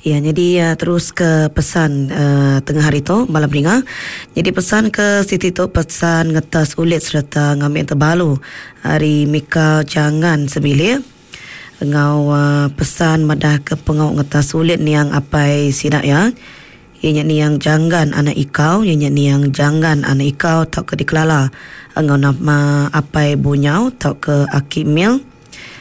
Ya nyadi terus ke pesan tengah hari tu bala peninga. Nyadi pesan ke siti tu pesan ngetas ulit sereta ngambi tebalu ari Mika Jangan sebilik enggau pesan madah ke pengawa ngetas ulit niang apai sida iya. Iya nya niang Janggan anak Ikau, iya nya niang Janggan anak Ikau tauka dikelala enggau nama Apai Bunyau tauka Aki Mil.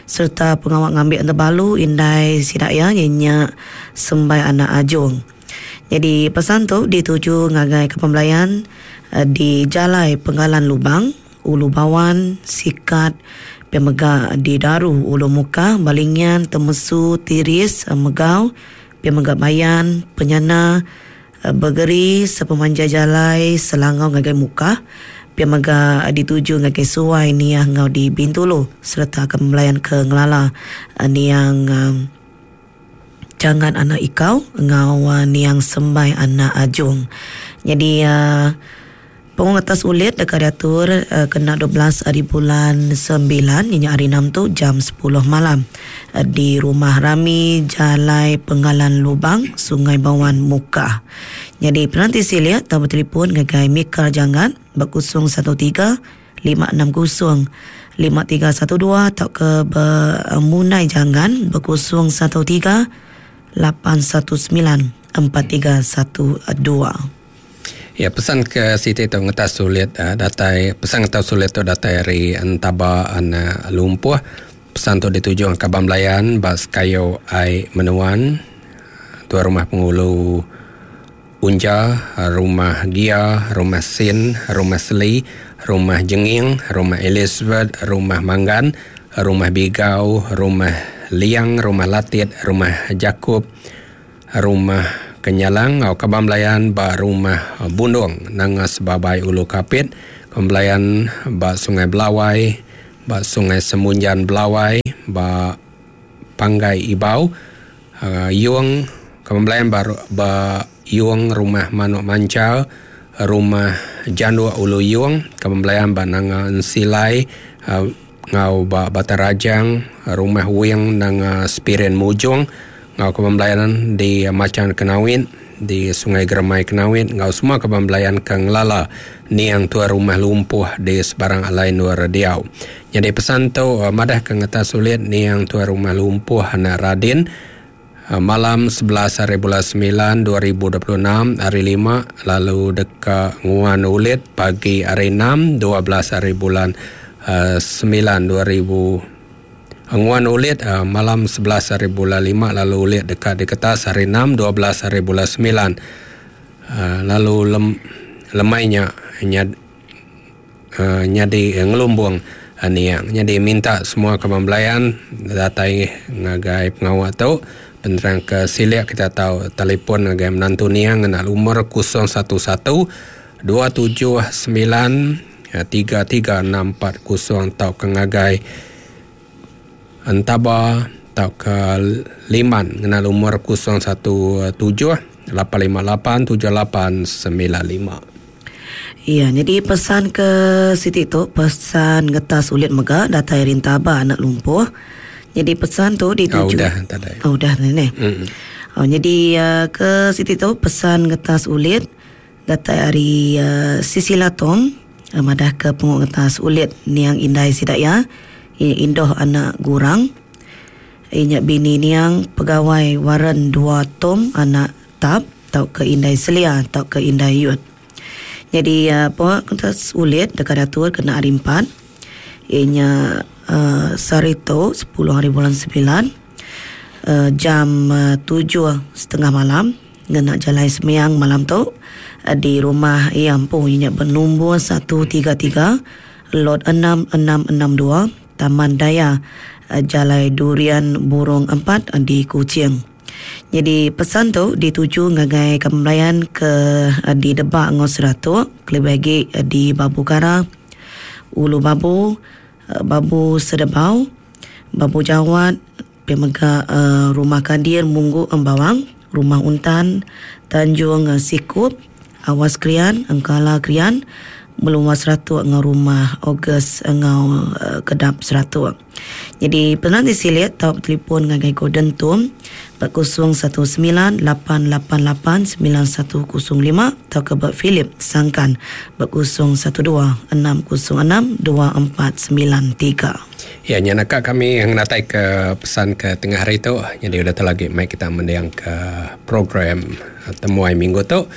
Sereta pengawa ngambi enda balu indai sida iya iya nya Sembai anak Ajung. Nyadi pesan tu dituju ngagai Kaban Belayan di Jalai Penggalan Lubang, Ulu Bawan, Sikat, pia mega di Daru, Ulu Mukah, Balingian, Temesu, Tiris, Megau, pia mega Bayan, Penyana, Begeri sepemanjai jalai Selangau ngagai Mukah, pia mega dituju ngagai Suai, Niah enggau di Bintulu sereta ke belayan ke ngelala niang Jangan anak Ikau enggau niang Sembai anak Ajung. Nyadi Pengu ngetas ulit deka diatur kena 12 ari bulan sembilan iya nya hari enam tu jam sepuluh malam di Rumah Rami Jalai Penggalan Lubang, Sungai Bawan, Mukah. Nyadi penanti silik tau betelefon ngagai Mika Jangat ba 013 560 5312 tauka ba Munai Jangan ba 013 819 4312. Ya pesan ke siti tu ngetas sulit datai pesan ngetas sulit tu datai ari entaba anak lumpuh. Pesan tu dituju kaban belayan ba sekayu ai menuan tuai rumah pengulu Unja, Rumah Gia, Rumah Sin, Rumah Seli, Rumah Jenging, Rumah Elizabeth, Rumah Manggan, Rumah Bigau, Rumah Liang, Rumah Latit, Rumah Jakup, Rumah Kenyalang enggau kaban belayan ba Rumah Bundong Nanga Sebabai Ulu Kapit, kaban belayan ba Sungai Belawai, ba Sungai Semunjan Belawai, ba Panggai Ibau, Yong, kaban belayan ba ba Yong Rumah Manuk Manchal, Rumah Janduk Ulu Yong, kaban belayan ba Nanga Ensilai enggau ba Batang Rajang, Rumah Wing Nanga Spirin Mujong enggau kaban belayan di Machan Kenawit, di Sungai Geremai Kenawit enggau semua kaban belayan ke ngelala niang tuai rumah lumpuh di sebarang alai endur diau. Nyadi pesan tu madah ke ngetas sulit niang tuai rumah lumpuh anak Radin malam 11 hari bulan 9 2026 hari lima lalu deka nguan ulit pagi hari 6 12 hari bulan 9 2000 nguan ulit malam 11 hari bulan 5 lalu ulit deka diketas hari 6 12 hari bulan 9 lalu lem, lemai nya nyadi ngelumbung niang. Nyadi minta semua kaban belayan datai ngagai pengawa tu. Penerang ke silik kita tau telefon ngagai menantu niang ngena lumur 011 279 33640 tauka ngagai Entaba tauka Liman ngena lumur 017 858 7895. Iya, nyadi pesan ke siti tu pesan ngetas ulit mega datai ari Entaba anak Lumpuh. Nyadi pesan tu dituju. Oh, udah tadi. Oh, udah tadi neh. Mm. Oh, nyadi uh, ke siti tu pesan ngetas ulit datai ari uh, Sisila Tong uh, madah ke pengu ngetas ulit niang indai sida iya indoh anak Gurang. Iya nya bini niang pegawai Warren Dua Tom anak Tap tauka indai Selia tauka indai Yut. Nyadi pengawa ngetas ulit deka diatur kena hari empat iya nya uhh sehari tu sepuluh hari bulan semilan uhh jam tujuh setengah malam ngena jalai sembiang malam tu di rumah iya empu iya nya benumbur satu tiga tiga lot enam enam enam dua Taman Daya Jalai Durian Burong empat di Kuching. Nyadi pesan tu dituju ngagai kaban belayan ke di Debak enggau Seratok kelebih agi di Babu Kara, Ulu Babu, Babu Sedebau, Babu Jawat, pia mega Rumah Kadir Munggu Embawang, Rumah Untan, Tanjung Sikup, Awas Krian, Engkala Krian, Melumba Seratok enggau Rumah August enggau Kedap Seratok. Nyadi penerang ti silik tau betelefon ngagai Gordon Tum Ba 019 888 9105 tauka ba Philip Sangkan ba 012 606 2493. Ya nya naka kami ngenatai ke pesan ke tengah hari tu. Nyadi udah tu lagi mai kita mending ke program temuai minggu tu.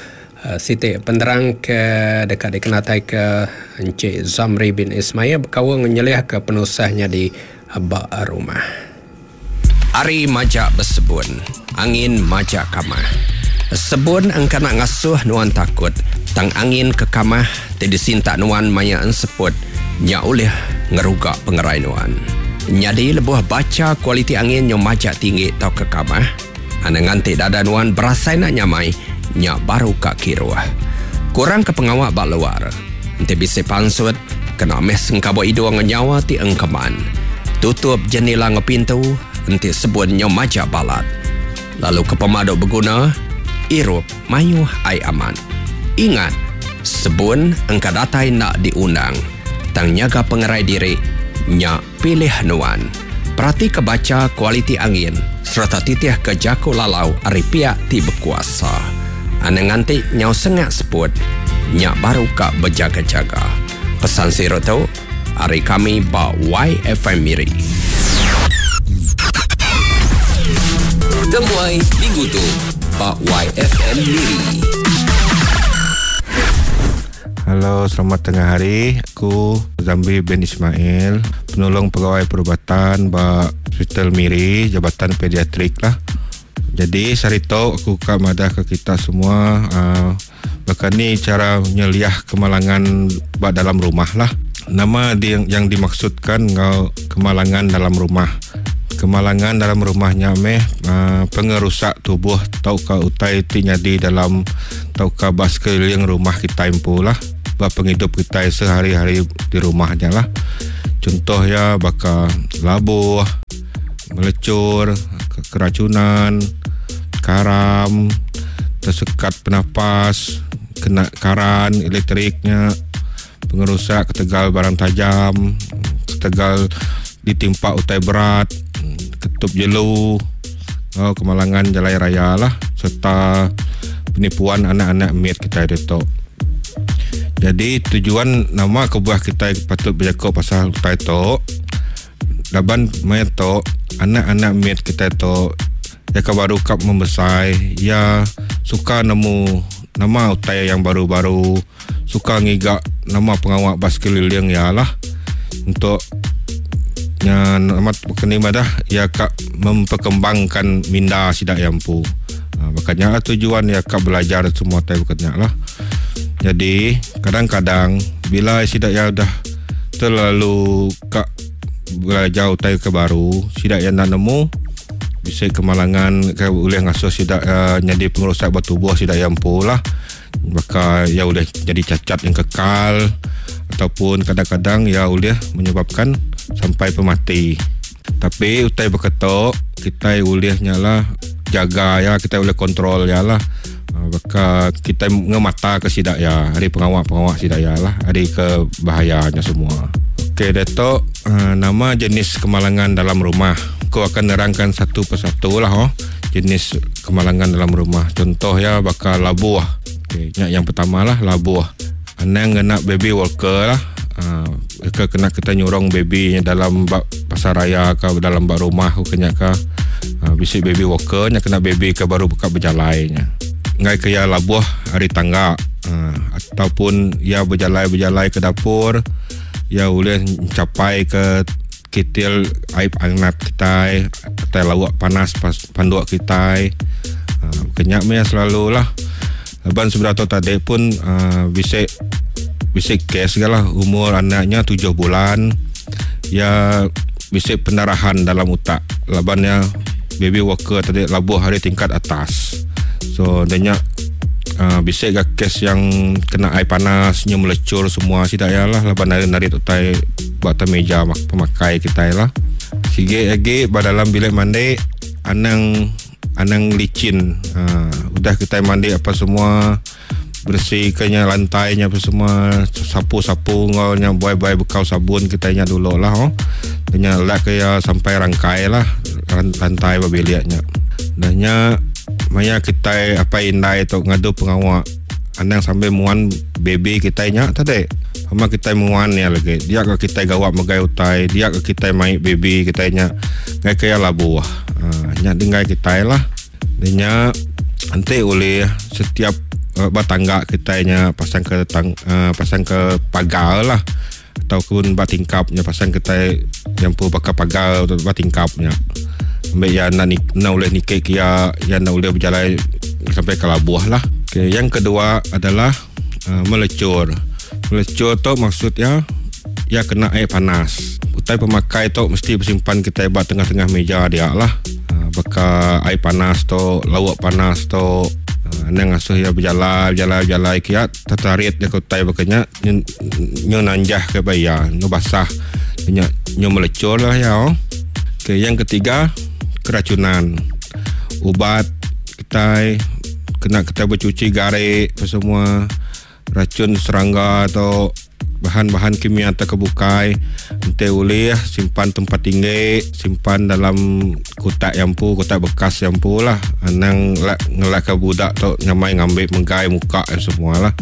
Siti penerang ke deka dikenatai ke Encik Zamri bin Ismail bekaul nyeliah ke penusah nyadi ba rumah. Ari majak besebun, angin majak kamah. Sebun engka enda ngasuh nuan takut, tang angin ke kamah ti disintak nuan maya enseput nya ulih ngeruga pengerai nuan. Nyadi lebuh bacha kualiti angin nyau majak tinggi tauka kamah, anang nganti dada nuan berasai enda nyamai, nya baru ka kiruh. Kurangka pengawa ba luar. Enti bisi pansut, kena meh sengkabuk idung enggau nyawa ti engkeman. Tutup jenila enggau pintu enti sebun nyau majak balat. Lalu ke pemadu beguna, irup mayuh ai amat. Ingat, sebun engka datai enda diundang, tang nyaga pengerai diri nya pilih nuan. Peratika bacha kualiti angin sereta titihka jaku lalau ari piak ti bekuasa. Anang nganti nyau sengak seput, nya baru ka bejaga-jaga. Pesan siru tu ari kami ba YFM Miri. Temuai minggu tu ba YFM Miri. Halo, selamat tengah hari. Aku Zambi bin Ismail, penolong pegawai perubatan ba Hospital Miri, Jabatan Pediatrik lah. Jadi sehari tu aku ka madah ke kita semua uh, baka ni cara nyeliah kemalangan ba dalam rumah lah. Nama di, yang dimaksudkan enggau kemalangan dalam rumah. Kemalangan dalam rumah nya meh uh, pengerusak tubuh tauka utai ti nyadi dalam tauka ba sekeliling rumah kitai empu lah ba pengidup kitai sehari-hari di rumah nya lah. Contoh iya baka labuh, melecur, keracunan, karam, tersekat penapas, kena karan elektrik nya, pengerusak ketegal barang tajam, ketegal ditimpa utai berat, ketup jelu, enggau kemalangan jalai raya lah serta penipuan anak-anak mit kitai ditu. Jadi tujuan nama kebuah kitai patut bejaku pasal utai tu laban maya tu anak-anak mit kitai tu iya ke baru ka membesai iya suka nemu nama utai yang baru-baru suka ngiga nama pengawa ba sekeliling iya lah untuk nya nama keni madah iya ka memperkembangkan minda sida iya empu. Ha, baka nya lah tujuan iya ka belajar semua tai baka nya lah. Jadi kadang-kadang bila sida iya udah terlalu ka belajar utai ke baru sida iya enda nemu bisi kemalangan ke ulih ngasuh sida uh, nyadi pengerusak ba tubuh sida iya empu lah. Baka ia ulih jadi cacat yang kekal ataupun kadang-kadang ia ulih menyebabkan sampai pemati. Tapi utai baka tu kitai ulih nya lah jaga ya kitai ulih kontrol ya lah. Ah, baka kitai ngemata ke sida ya ari pengawa-pengawa sida ya lah ari ke bahayanya semua. Okey datuk ah, nama jenis kemalangan dalam rumah. Aku akan nerangkan satu persatu lah oh jenis kemalangan dalam rumah. Contoh ya baka labuh. Okey, nya yang pertama lah labuh. Anang ngena baby walker lah. Uh, ke kena kita nyurong baby nya dalam bak pasar raya ke dalam bak rumah ke nya ke uh, bisi baby walker nya kena baby ke baru buka berjalai nya. Ngai ke ya labuh ari tangga uh, ataupun ya berjalai-berjalai ke dapur ya ulih mencapai ke Kitil ai angat kitai tai lauk panas panduk kitai uhh ke nya meh selalu lah. Laban sebedau tu tadi pun uhh bisi bisi kes ga lah umur anak nya tujuh bulan iya bisi pendarahan dalam utak laban iya baby walker tadi labuh ari tingkat atas. So da nya uhh bisi ga kes yang kena ai panas nyu melecur semua sida iya lah laban narit utai. Ba atas meja pemakai kitai lah. Sigi agi ba dalam bilik mandi anang anang licin. Ha, udah kitai mandi apa semua bersih ke nya lantai nya apa semua sapu-sapu enggau nya buai-buai bekau sabun kitai nya dulu lah oh. Nya lak ke iya sampai rangkai lah lantai ba bilik nya. Dah nya maya kitai apai indai tu ngadu pengawa anang sambil muan baby kitai nya tadi. Pama kitai muan iya lagi dia ga kitai gawa megai utai dia ga kitai mai baby kitai nya ngai ke iya labuh. Aaa nya denggai kitai lah. Dah nya enti ulih setiap ba tangga kitai nya pasang ke tang pasang ke pagar lah ataupun ba tingkap nya pasang kitai nyampu baka pagar ba tingkap nya. Ambi iya enda enda ulih niki ke iya, iya enda ulih bejalai sampai ke labuh lah. Okay, yang kedua adalah uh, melecur. Melecur tu maksud iya iya kena air panas. Utai pemakai tu mesti besimpan kitai ba tengah-tengah meja dia lah. Uh, baka air panas tu, lauk panas tu, uh, anang ngasuh iya bejalai bejalai bejalai kiat tertarit dia ke utai baka nya nyu, nyu nanjah ke ba iya, nyu basah. Nya nyu melecur lah iya. Oh. Okay, yang ketiga keracunan. Ubat kitai kena kitai becuci gari apa semua racun serangga tu bahan-bahan kimia atau ke bukai enti ulih simpan tempat tinggi simpan dalam kotak yang empu kotak bekas yang empu lah anang ngelak ke budak tu nyamai ngambi megai muka semua lah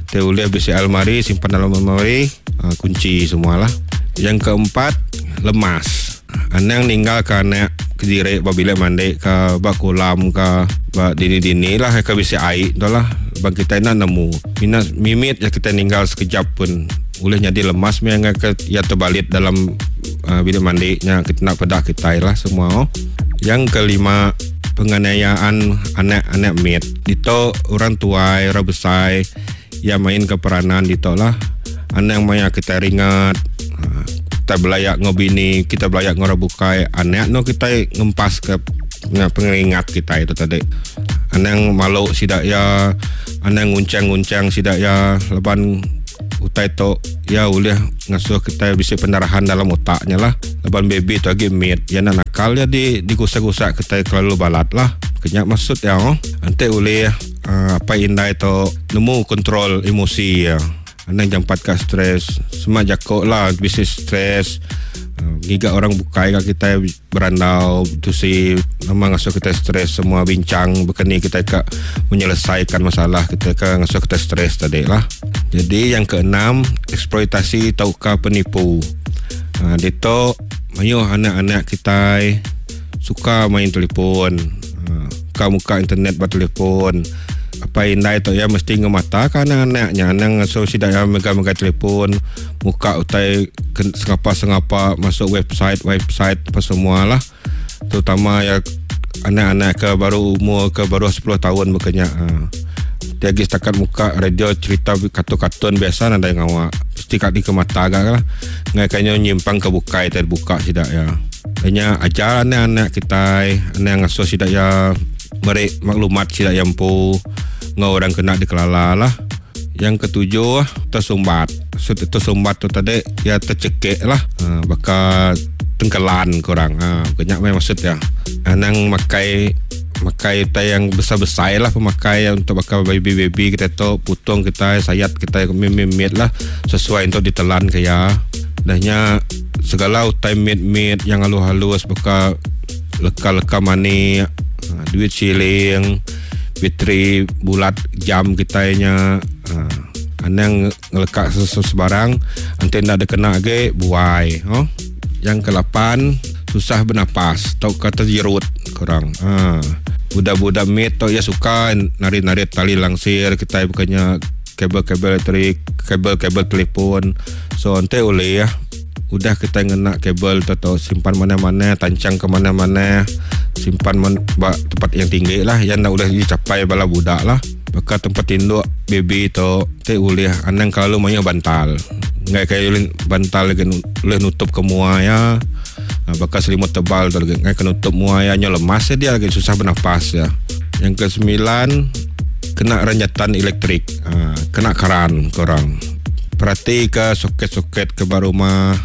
enti ulih bisi almari simpan dalam almari kunci semua lah. Yang keempat lemas. Anang ninggal ke anak kediri ba bilik mandi ke ba kolam ke ba dini-dini lah ke bisi ai tu lah. Ban kitai enda nemu. Mina mimit ja kitai ninggal sekejap pun ulih nyadi lemas meh angai ke iya tebalit dalam uh, bilik mandi nya kita enda peda kitai lah semua. Oh. Yang kelima penganiayaan anak-anak mit. Ditu orang tuai, orang besai iya main ke peranan ditu lah. Anang maya kitai ringat, kitai belaya enggau bini, kitai belaya enggau orang bukai, anak no kitai ngempas ke pengeringat kitai tu tadi. Anang malu sida iya, anang ngunchang-ngunchang sida iya laban utai tu iya ulih ngasuh kitai bisi pendarahan dalam otak nya lah. Laban baby tu agi mit, iya enda nakal iya di digusak-gusak kitai kelalu balat lah. Ke nya maksud iya. Enti ulih apai indai tu nemu kontrol emosi iya. Anang jampat ka stress. Sema jako lah bisi stress ngiga orang bukai ka kitai berandau betusi nama ngasuh kitai stress semua bincang baka ni kitai ka menyelesaikan masalah kitai ka ngasuh kitai stress tadi lah. Jadi yang keenam eksploitasi tauka penipu. Ditu mayuh anak-anak kitai suka main telefon. Ka muka internet ba telefon. Apai indai tu iya mesti ngemataka anak-anak nya anang ngasuh sida iya mega-mega telefon muka utai sengapa-sengapa masuk website website apa semua lah. Terutama iya anak-anak ke baru umur ke baruh sepuluh taun baka nya. Ti agi setakat muka radio cerita kartun-kartun biasa nadai ngawa. Mesti ka dikemata ga lah. Ngagai ka nyu nyimpang ke bukai tai buka sida iya. Nya ajar anak-anak kitai anang ngasuh sida iya meri maklumat sida iya empu enggau orang ke enda dikelala lah. Yang ketujuh tersumbat. So tersumbat tu tadi iya tercekik lah baka tengkelan ku orang ha nya meh maksud iya. Anang makai makai utai yang besai-besai lah pemakai untuk baka baby-baby kitai tu putung kitai sayat kitai mit-mit lah sesuai untuk ditelan ke iya. Dah nya segala utai mit-mit yang halus-halus baka leka-leka manik, duit siling, bateri bulat jam kitai nya anang ngeleka sebarang enti enda dikena agi buai. Yang kelapan susah bernapas tauka terjerut ku orang. Budak-budak mit tu iya suka narit-narit tali langsir kitai baka nya kabel-kabel elektrik, kabel-kabel telefon. So enti ulih udah kitai ngena kabel tu tu simpan manah-manah tanchang ke manah-manah simpan ba tempat yang tinggi lah iya enda ulih dicapai bala budak lah. Baka tempat tinduk baby tu ti ulih anang kelalu mayuh bantal. Enggai ke ulih bantal lagi ulih nutup ke mua iya baka selimut tebal tu lagi enggai ke nutup mua iya nyau lemas dia lagi susah bernafas iya. Yang kesembilan kena renjatan elektrik kena karan ku orang. Peratika soket-soket ke ba rumah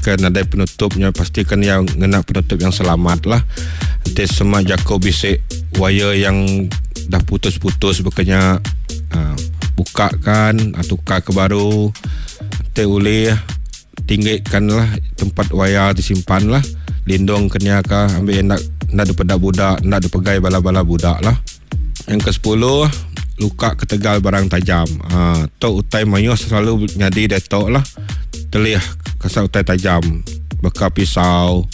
ke nadai penutup nya pastikan iya ngena penutup yang selamat lah. Enti sema jaku bisi wire yang dah putus-putus baka nya buka kan tukar ke baru enti ulih tinggi kan lah tempat wire disimpan lah lindung ke nya ka ambi enda. Enda dipeda budak, enda dipegai bala-bala budak lah. Yang ke-10, luka ketegal barang tajam. Ha, tu utai mayuh selalu nyadi diatu lah. Telih kasar utai tajam. Baka pisau,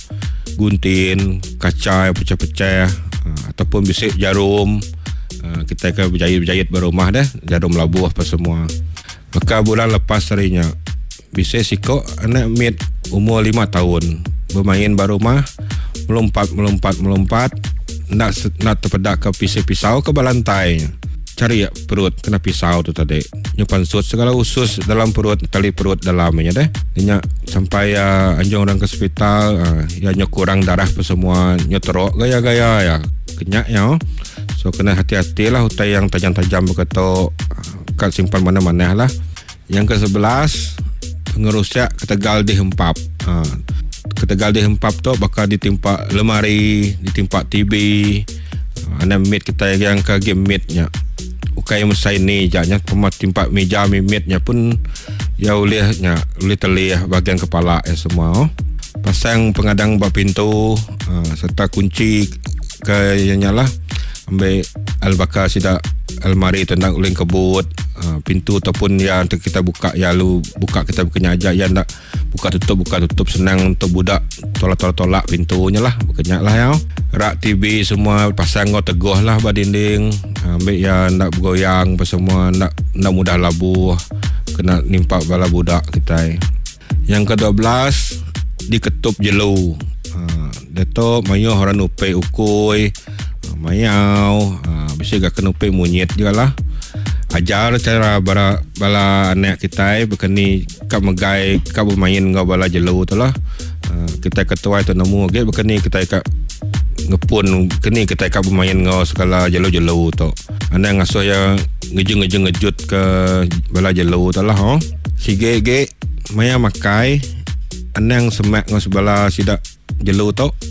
guntin, kaca yang pecah-pecah ha, ataupun bisi jarum. Ha, kita ke berjahit-berjahit berumah deh, jarum labuh apa semua. Baka bulan lepas hari nya, bisi siko anak mit umur 5 tahun bermain ba rumah, melompat melompat melompat enda enda tepeda ke pisi pisau ke ba lantai. Cari perut kena pisau tu tadi. Nyu pansut segala usus dalam perut, tali perut dalam nya deh. Nya sampai uh, anjung orang ke hospital, uh, ya nyu kurang darah apa semua, nyu teruk gaya-gaya ya. Kenyak ya. So kena hati-hati lah utai yang tajam-tajam begitu kat simpan mana-mana lah. Yang ke-11, pengerusak ketegal dihempap. Ha, ketegal dihempap tu bakal ditimpa lemari, ditimpa TV. Ha, anak mit kita yang ke game mitnya. Ukai mesai ni jaknya pemat timpa meja mitnya pun ya ulihnya ulih telih bahagian kepala ya semua. Oh. Pasang pengadang bak pintu ha, serta kunci ke nya lah ambil al-bakar sida almari tentang uling kebut ha, pintu ataupun yang kita buka ya lu buka kita bukannya aja ya ndak buka tutup senang untuk budak tolak-tolak-tolak pintunya lah bukannya lah ya. Rak TV semua pasang kau teguh lah ba dinding, ambil ya ndak bergoyang apa semua, ndak ndak mudah labuh kena nimpa bala budak kita. Yang ke-12, diketup jelu. Ha, dia tu mayuh orang nupe ukui, mayau, ha, bisa gak kena nupe monyet juga lah. Ajar cara bala, bala anak kita berkeni kak megai kak bermain ngau bala jelu tu lah. Ha, kita ketua itu nemu okey berkeni kita kak ngepun keni kita kak bermain ngau segala jelu-jelu tu. Anak ngasuh ya ngeju-ngeju ngejut ke bala jelu tu lah oh. Sige ge maya makai anang semak ngau sebala sidak jelu tu.